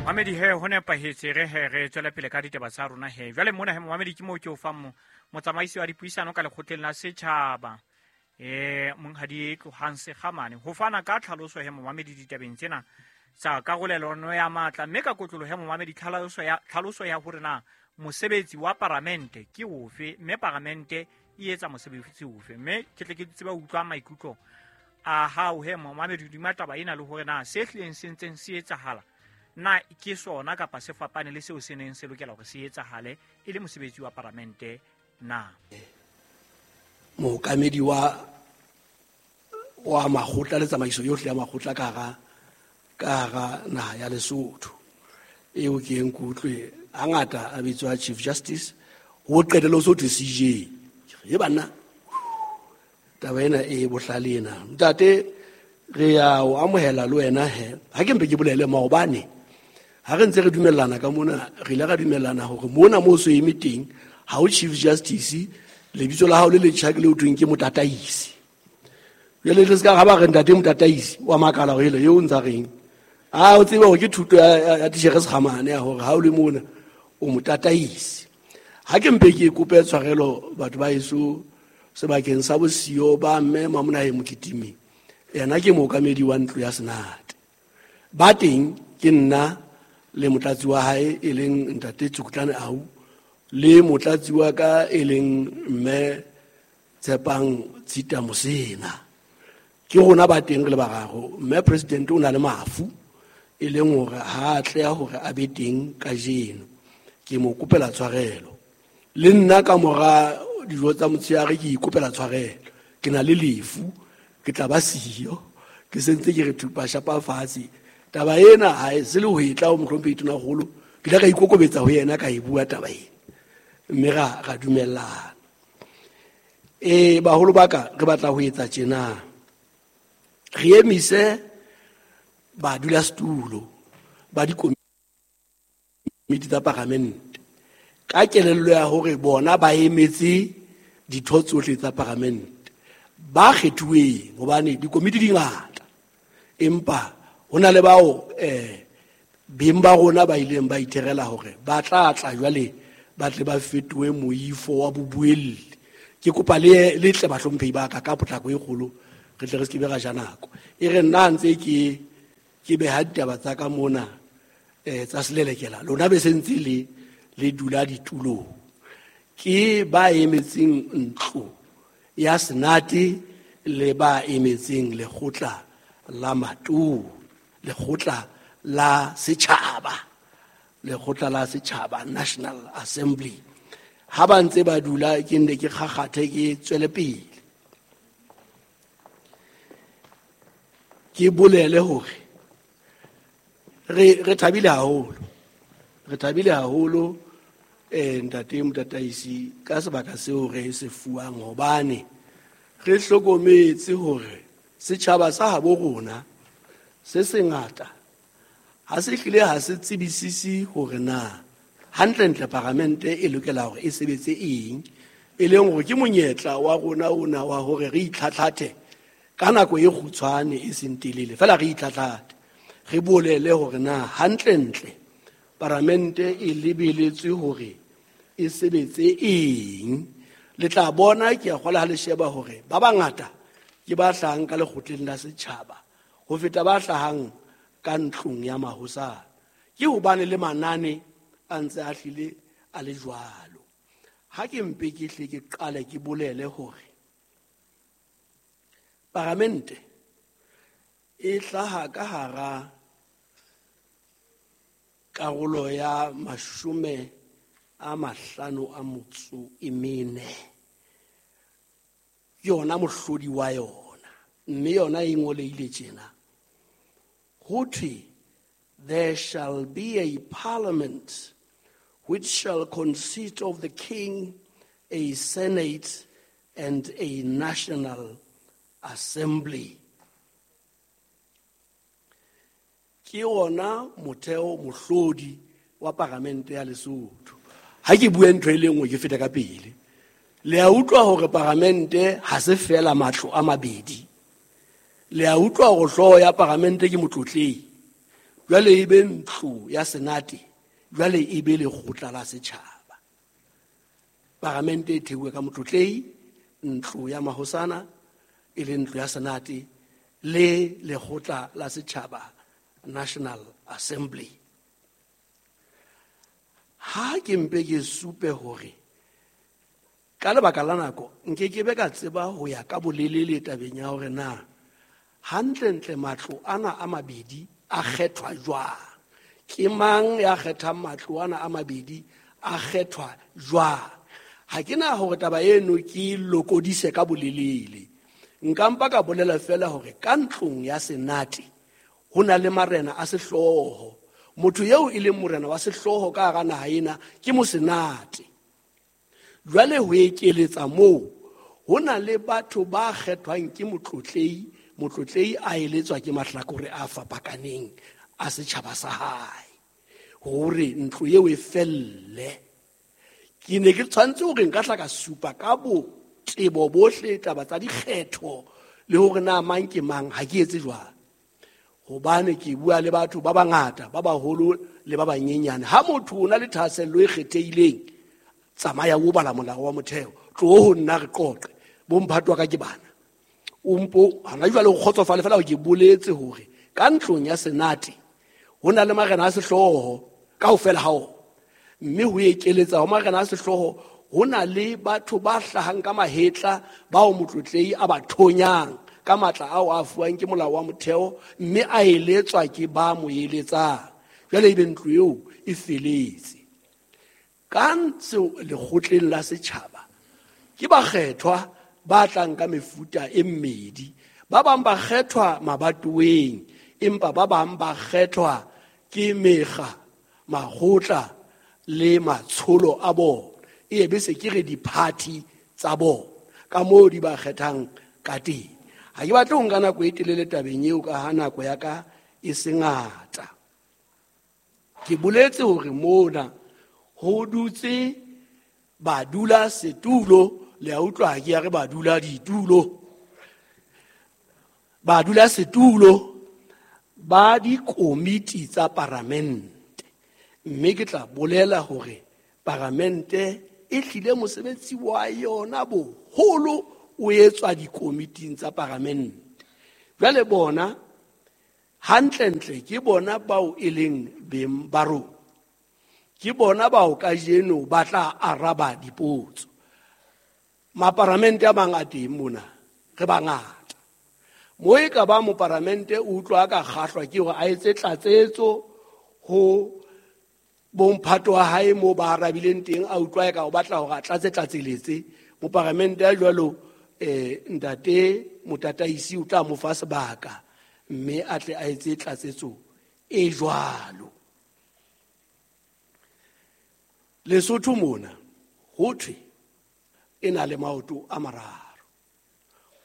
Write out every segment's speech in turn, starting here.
Mamedi he, ho nepahetse. Re he re tswele pele ka ditaba tsa rona he. Jwale mona he, momamedi, ke moo ke o fang motsamaisi wa dipuisano ka lekgotleng la setjhaba, monghadi Tlohang Sekgamane, ho fana ka tlhaloso he, momamedi, ditabeng tsena tsa karolelano ya matla, mme ka kotlolo he, momamedi, tlhaloso ya hore na mosebetsi wa paramente ke ofe, mme paramente e etsa mosebetsi ofe. Mme ke tle ke tsebe utlwa maikutlo a hao he, momamedi, hodima taba ena, le hore na se hlileng se ntseng se etsahala na ke sona kapa se fapane le seo se neng se lokela hore se etsahale e le mosebetsi wa paramente na. Mookamedi wa makgotla le tsamaiso yohle ya makgotla ka hara naha ya Lesotho, eo ke eng ke utlwe hangata a bitswa Chief Justice, ho qetelle ho so thwe CJ. E banna, taba ena e bohlale ena. Ntate, re ya o amohela le wena he. Ha ke mpe ke bolele, maobane ha re ntse re dumellana ka mona, re ile ra dumellana hore mona mo so eme teng ha o Chief Justice, lebitso la hao le letjha ke le o thweng ke Motataisi. Jwale le se ka ga ba re ntate Motataisi, wa makala gore ele eo ntsa reng. A o tsebe hore ke thuto ya titjhere Sekgamane ya hore ha o le mona o motataisi. Ha ke mpe ke kope tshwarelo, batho ba eso, sebakeng sa bosiyo ba mme Mamonahe Mokitimi, yena ke mookamedi wa ntlo ya senate. Ba teng ke nna le motlatsi wa hae, e leng ntate Tsukutlane Au, le motlatsi wa ka, e leng mme Tshepang Tshita Mosena. Ke rona ba teng re le bararo. Mme President o na le mafu, e leng hore ha a tleha hore a be teng kajeno. Ke mo kopela tshwarelo. Le nna ka mora dijo tsa motshehare ke ikopela tshwarelo, ke na le lefu, ke tla ba siyo. Ke sentse ke re thupa shapa fatshe taba ena ha e se le ho e tla ho mohlomphehi Tonakgolo. Ke ile ka ikokobetsa ho yena, ka e bua taba ena, mme ra dumellana. Baholo ba ka, re batla ho etsa tjena: re emise badulasetulo ba dikomiti tsa paramente ka kelello ya hore bona ba emetse ditho tsohle tsa paramente ba kgethuweng, hobane dikomiti di ngata, empa ho na le bao beng ba rona ba ileng ba itherela hore ba tla tla jwale ba tle ba fetohe moifo wa bobuelli. Ke kopa le tle, bahlomphehi ba ka, ka potlako e kgolo, re tle re se ke be ra ja nako. E re nna ntse ke beha ditaba tsa ka mona tsa selelekela, lona be se ntse le dula ditulong. Ke ba emetseng ntlo ya senate le ba emetseng lekgotla la matona, lekgotla la setjhaba, lekgotla la setjhaba, National Assembly. Ha ba ntse ba dula, ke nne ke kgakgathe, ke tswele pele ke bolele hore re thabile haholo, re thabile haholo, ntate Motataisi, ka sebaka seo re se fuwang, hobane re hlokometse hore setjhaba sa habo rona se sengata ha se hlile ha se tsebisisi hore na hantlentle paramente e lokela hore e sebetse eng, e leng hore ke monyetla wa rona ona wa hore re itlhatlhathe ka nako e kgutshwane, e seng telele fela, re itlhatlhathe, re bolele hore na hantlentle paramente e lebeletswe hore e sebetse eng. Le tla bona, ke a kgola ha le sheba hore ba bangata ke ba hlahang ka lekgotleng la setjhaba ho feta ba hlahang ka ntlong ya mahosana, ke hobane le manane a ntse a hlile a le jwalo. Ha ke mpe ke hle ke qale ke bolele hore paramente e hlaha ka hara karolo ya 54 ke yona mohlodi wa yona, mme yona e ngolehile tjena, ho thwe: "There shall be a parliament which shall consist of the king, a senate and a national assembly." Ke ona motheo, mohlodi wa paramente ya Lesotho. Ha ke bue ntho e le nngwe, ke feta ka pele. Le a utlwa hore paramente ha se fela matlo a mabedi. Le a utlwa hore hlooho ya paramente ke motlotlehi. Jwale e be ntlo ya senate, jwale e be lekgotla la setjhaba. Paramente e theuwe ka motlotlehi, ntlo ya mahosana e le ntlo ya senate le lekgotla la setjhaba, National Assembly. Ha ke mpe ke supe hore ka lebaka la nako nke ke be ka tseba ho ya ka bolelele tabeng ya hore na hantlentle matlo ana a mabedi a kgethwa jwang, ke mang ya kgethang matlo ana a mabedi a kgethwa jwang. Ha ke na hore taba eno ke lokodise ka bolelele, nka mpa ka bolela fela hore ka ntlong ya senate ho na le marena a sehlooho. Motho eo e leng morena wa sehlooho ka hara naha ena ke mosenate. Jwale ho ekeletsa moo ho na le batho ba kgethwang ke motlotlehi, motlotlehi a eletswa ke mahlakore a fapakaneng a setjhaba sa hae hore ntlo eo e felle. Ke ne ke tshwanetse hore nka tla ka supa ka botebo bohle taba tsa dikgetho le hore na mang ke mang, ha ke etse jwalo hobane ke bua le batho ba bangata, ba baholo le ba banyenyane. Ha motho o na le thahasello e kgethehileng, tsamaya o bala molao wa motheo, tloho ho nna re qoqe, bo mphato wa ka ke bana. O mpo hana jwale o kgotsofale fela ke boletse hore ka ntlong ya senate ho na le marena a sehlooho kaofela ha ona, mme ho ekeletsa ho marena a sehlooho ho na le batho ba hlahang ka mahetla bao motlotlehi a ba thonyang ka matla ao a fuwang ke molao wa motheo, mme a eletswa ke ba mo eletsang. Jwale ebe ntlo eo e feletse. Ka ntse lekgotleng la setjhaba ke bakgethwa ba tlang ka mefuta e mmedi. Ba bang ba kgethwa mabatoweng, empa ba bang ba kgethwa ke mekga, makgotla le matsholo a bona. E be se ke re di-party tsa bona ka moo di ba kgethang ka teng. Ha ke batle ho nka nako e telele tabeng eo ka ha nako ya ka e se ngata. Ke boletse hore mona ho dutse badula setulo, le a utlwa ha ke ya re badula ditulo. Badula setulo ba dikomiti tsa paramente. Mme ke tla bolela hore paramente e hlile mosebetsi wa yona boholo o etswa dikomiting tsa paramente. Jwale bona hantlentle ke bona bao e leng beng ba rona, ke bona bao kajeno ba tla araba dipotso. Maparamente a mang a teng mona, re bangata. Mo e ka ba moparamente o utlwa ka kgahlwa ke hore a etse tlatsetso ho bomphato wa hae mo ba arabileng teng, a utlwa e ka o batla hore a tlatse tlatseletse. Moparamente a jwalo ntate motataisi o tla mo fa sebaka mme a tle a etse tlatsetso e jwalo. Lesotho mona ho thwe e na le maoto a mararo,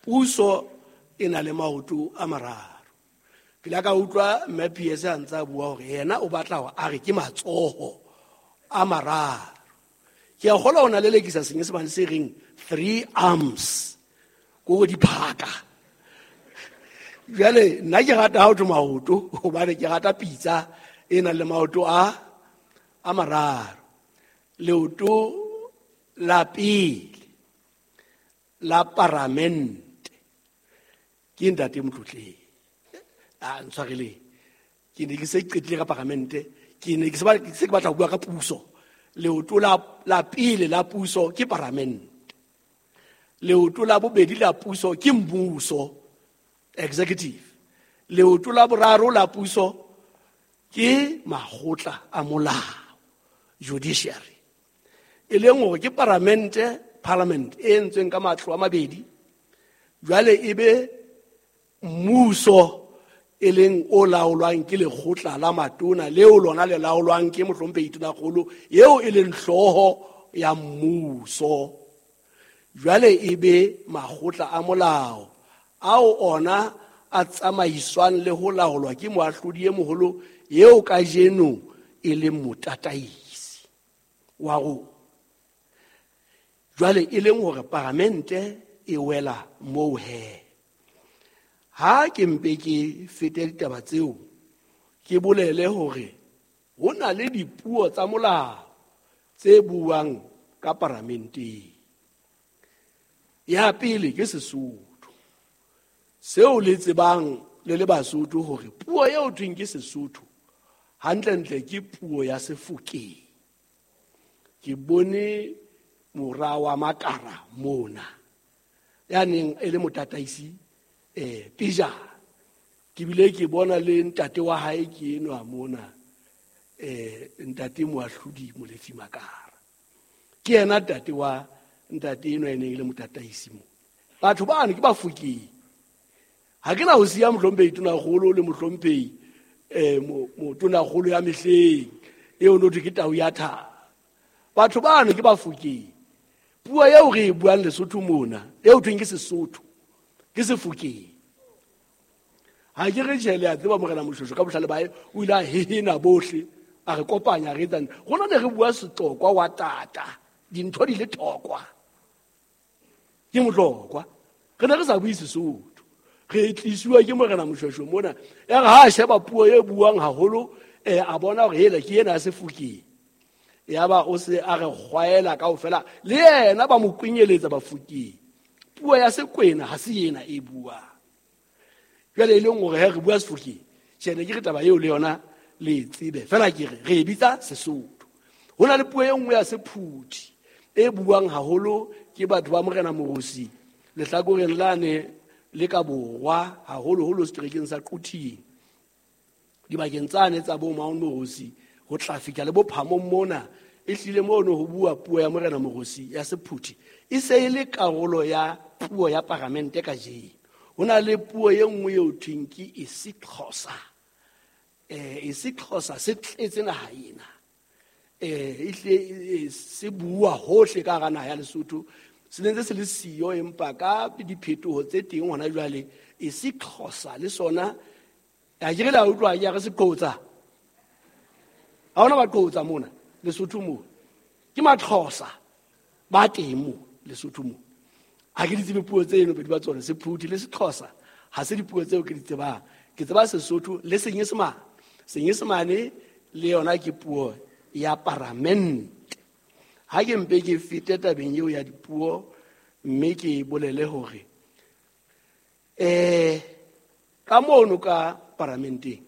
puso e na le maoto a mararo. Ke la ka utlwa mme PS a ntse a bua hore yena o batla hore a re ke matsoho a mararo. Ke a kgolwa o na lelekisa senyesemane se reng three arms, ko diphaka. Jwale nna ke rata ha ho thwe maoto hobane ke rata pitsa e nang le maoto a mararo. Leoto la pele la paramente ke ntate Motlotlehi. A ntshwareleng, ke ne ke se qetile ka paramente, ke ne ke se ke batla ho bua ka puso. Leoto la pele la puso ke paramente. Leoto la bobedi la puso ke mmuso, executive. Leoto la boraro la puso ke makgotla a molao, judiciary. E leng hore ke paramente, parliament e entsweng ka matlo a mabedi. Jwale e be mmuso e leng o laolwang ke lekgotla la matona, leo lona le laolwang ke mohlomphehi Tonakgolo eo e leng hlooho ya mmuso. Jwale e be makgotla a molao ao ona a tsamaiswang le ho laolwa ke moahlodi e moholo eo kajeno e leng motataisi wa rona. Jwale e leng hore paramente e wela moo he. Ha ke mpe ke fete ditaba tseo, Ke bolele hore ho na le dipuo tsa molao tse buang ka paramenteng. Ya pele ke Sesotho. Seo le tsebang le le Basotho hore puo eo thweng ke Sesotho hantlentle ke puo ya Sefokeng. Ke bone mora wa Makara mona ya neng e le motataisi pejana. Ke bile ke bona le ntate wa hae ke enwa mona, ntate Moahlodi Molefi Makara. Ke yena ntate wa ntate enwa e neng e le motataisi mo. Batho bano ke Bafokeng. Ha ke na ho siya mohlomphehi Tonakgolo le mohlomphehi Tonakgolo ya mehleng eo no thwe ke tau ya thaba. Batho bano ke Bafokeng. Puo eo re e buang Lesotho mona, eo thweng ke Sesotho, ke Sefokeng. Ha ke re tjhe, le a tseba Morena Moshoeshoe ka bohlale ba hae, o ile a hehena bohle, a re kopanya, re etsang. Rona ne re bua Setlokwa wa tata, dintho di le thokwa. Ke Motlokwa. Re ne re sa bue Sesotho. Re tlisuwa ke Morena Moshoeshoe mona. Ya re ha a sheba puo e buang haholo, a bona hore hela ke ena ya Sefokeng. Yaba o se a re kgwaela kaofela, le yena ba mo kwenyeletsa Bafokeng. Puo ya Sekwena ha se ena e buang. Jwale e leng hore he re bua Sefokeng, tjhe, ne ke re taba eo le yona le e tsebe. Feela ke re, re e bitsa Sesotho. Ho na le puo e nngwe ya Sephuthi e buang haholo ke batho ba Morena Morosi lehlakoreng lane le ka borwa, haholoholo seterekeng sa Quthing. Dibakeng tsane tsa bo Mount Morosi ho tla fihla le bophamong mona, e hlile mono ho bua puo ya Morena Morosi ya Sephuthi. E se e le karolo ya puo ya paramente kajeno. Ho na le puo e nngwe eo thweng ke isiXhosa. isiXhosa se tletse naha ena. E hle, se bua hohle ka hara naha ya Lesotho. Se ne ntse se le siyo, empa ka diphetoho tse teng hona jwale, isiXhosa le sona, a ke re la utlwa ke re se qotsa. Ha hona ba qotsa mona Lesotho mo. Ke Maxhosa ba teng mo Lesotho mo. Ha ke di tsebe puo tseno pedi ba tsona, Sephuthi le Sexhosa ha se dipuo tseo ke di tsebang. Ke tseba Sesotho le Senyesemane. Senyesemane le yona ke puo ya paramente. Ha ke mpe ke fete tabeng eo ya dipuo, mme ke bolele hore, ka mono ka paramenteng